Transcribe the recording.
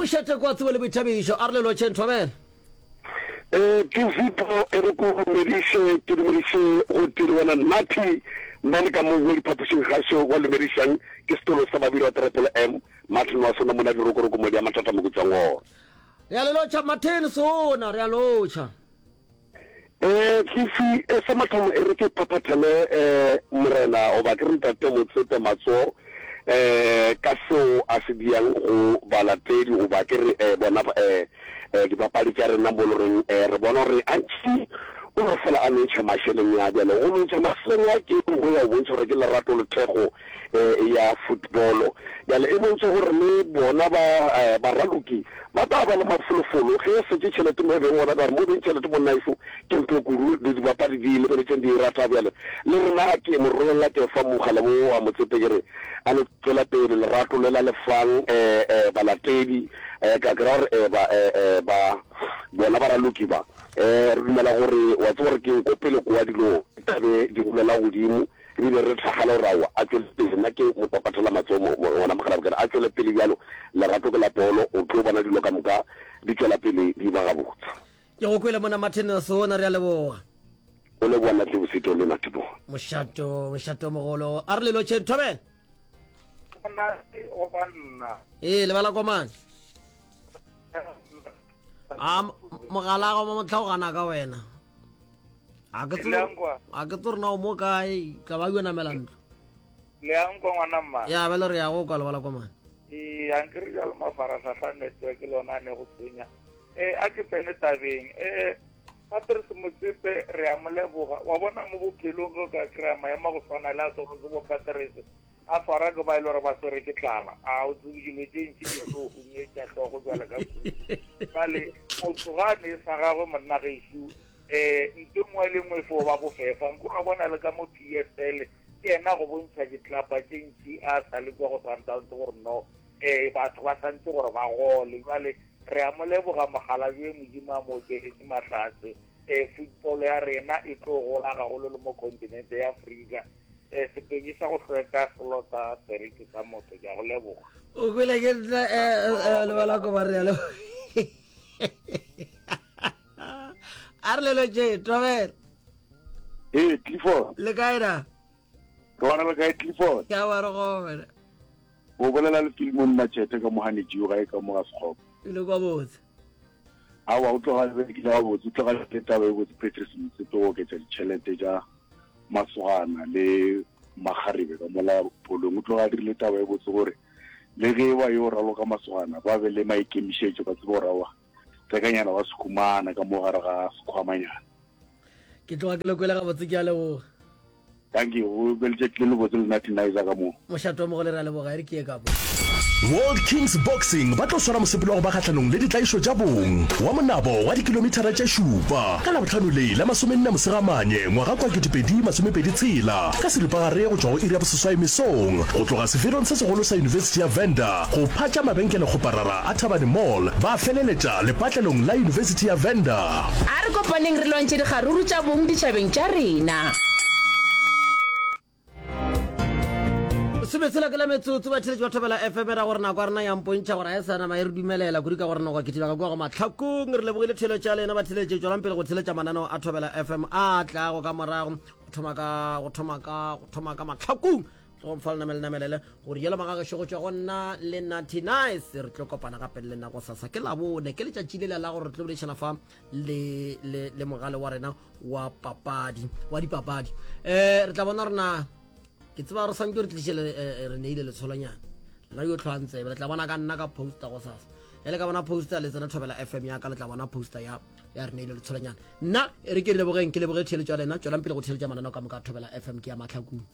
Mošate kwa tsebo le boithabišo, a re le lotšheng thobela. Eh, ke Zipho, e re ko dumediše, ke dumediše go tee le wena Nathi, nna le ka mo mo diphapošing gašo wa lumedišang ke setolo sa babiri wa Triple M, Martin wa sona mona dirokoroko mo di a mathata mo ke tswang gona. Re a le lotšha Martin sona, re a lotšha. Eh, Fifi, eh, sa mathomo e re ke phaphathele eh, morena goba ke re ntate Motsepe matsogo eh, ka seo a se diang go balatedi goba ke re eh, bona eh, eh, dibapadi tša rena mo loreng eh, re bona gore antši o no fela a no ntšha mašeleng a bjale go no ntšha mašeleng a ke go ya go bontšha gore ke lerato le thekgo eh, ya football bjale e bontšha gore le bona ba eh, baraloki ba tla ba le mafolofolo ge e setše tšhelete mo e beng gona ka gore mo beng tšhelete monnaešo ke ntho kudu le dibapadi di lebeletšeng di e rata bjale le rena ke mo rolela ke fa mogala wo wa motsepe ke re a le tswela pele lerato le la lefang eh, eh, balatedi eh, ka kry-a gore eh, ba, eh, eh, ba bona baraloki ba eh, re dumela gore wa tseba gore ke ko pele koa dilo tlabe di golela godimo Ebile re hlagala gore aowa, a tšwele pele. Nna ke mo papathela matsogo mo, mo, ngwana mokgalabje, ke re a tšwele pele bjalo. Lerato ke la polo, o tlo bona dilo ka moka di tšwela pele di ba gabotse. Ke go kwele mona Martin Sona, re a leboga. O leboga nna Tlebosito le Natebogo. Mošato, mošato mogolo. A re le lotšheng, Thobela. Monate go ba nna. Ee, lebala komane. A mogala go mo tlhaogana ka wena. A ke tsebe a ke tsebe na o mo kae ka ba yo namela ntlo. Le a nkwa ngwana mma. Ya bele re ya go kwa lebala komane. Ee, a nkere jalo mafarahlahla network le ona a ne go tshwenya. Eh, a ke tsene tabeng. Eh, Patrice Motsepe re a mo leboga. Wa bona mo bophelong ge o ka kry-a maemo a go tshwana le a tshwanetse bo Patrice a swara ke ba e le gore ba swere ke tlala a o tsebe dilo tše ntši di tlo hunyetša hlogo jwale ka kudu jale motho ga a ne sa gagwe monna gešo um nto nngwe le nngwe e fo ba bofefa nko ga bona le ka mo p s l ke yena go bontšha ditlapa tše ntši a sa le kwa go sundowns gore no um batho ba santse gore ba gole jale re a mo leboga mogalabje modimo a mo okeletše mahlatse um football ya rena e tlo gola gagolo le mo continente ya afrika Eh, Sepedi sa go hlweka selo sa seriti sa motho, ke a go leboga. O kwele ke nna eh, eh, eh, lebala ko ba re a leboga. A re lelo tše, Tobela. Ee, Clifford. Le kae na? Ke bona le kae Clifford? Ke a ba re gona. O bolela le Philemon Machete ka moganetši ga e ka mo ga Sekgopo. E le kwa botse. Aowa, o tloga be ke le gabotse, o tloga le taba e botse Patrice Motsepe go oketša ditšhelete tša masogana le makgarebe ka mola polong. O tloga a dirile taba e botse gore le ge ba yo raloka masogana ba be le maikemišetšo, ba tsebe gore aowa tsekanyana wa se humana ka mo gare ga sekhwamanyana. Ke tloga ke le kwele gabotse, ke a leboga. Thank you. O be letšatši le lebotse le Natty Nizer ka mo. Mošate wa mogole re a leboga e re ke ye ka mo. World Kings Boxing ba tlo swara mosepelo wa go ba kgahlanong le ditlaišo tša bong wa monabo wa dikilomithara tše šupa ka Labohlano le la masomenne Mosegamanye ngwaga kwa 2026 ka seripagare go tšwa go iri ya boseswai mesong go tloga seferong se segolo sa Yunibesithi ya Venda go phatša mabenkelekgoparara a Thabane Mall ba feleletša lepatlelong la Yunibesithi ya Venda. A re kopaneng re lwantšhe dikgaruru tša bong ditšhabeng tša rena. Sometshela ke la metsotso batheletši ba Thobela FM ra gore nako ya rena ya mpontšha gore ga e sa nama e re dumelela kudu ka gore nako kitima ka kua go mahlakong. Re lebogile theeletšo ya lena batheletši, tšwelang pele go theeletša mananeo a Thobela FM a tlago ka morago go thoma ka go thoma ka go thoma ka mahlakong go mfa lenamele namelele gore yela magagešo go tšwa go nna le Natty Nice re tlo kopana gape le nna go sasa ke labone ke letšatši lela la gore re tlo boledišana fa le le le mogale wa rena wa papadi wa dipapadi eh re tla bona rena ke tseba re santse re tliše le eh, re neile letsholonyana nna yo tlhwang tsebe le tla bona ka nna ka poster go sasa e le ka bona poster le tsena thobela fm ya ka le tla bona poster ya ya re neile letsholonyana nna e re ke lebogeng ke leboge theeletšo ya lena tswelang pele go theeletša mananeo ka moka thobela fm ke ya mahlakong.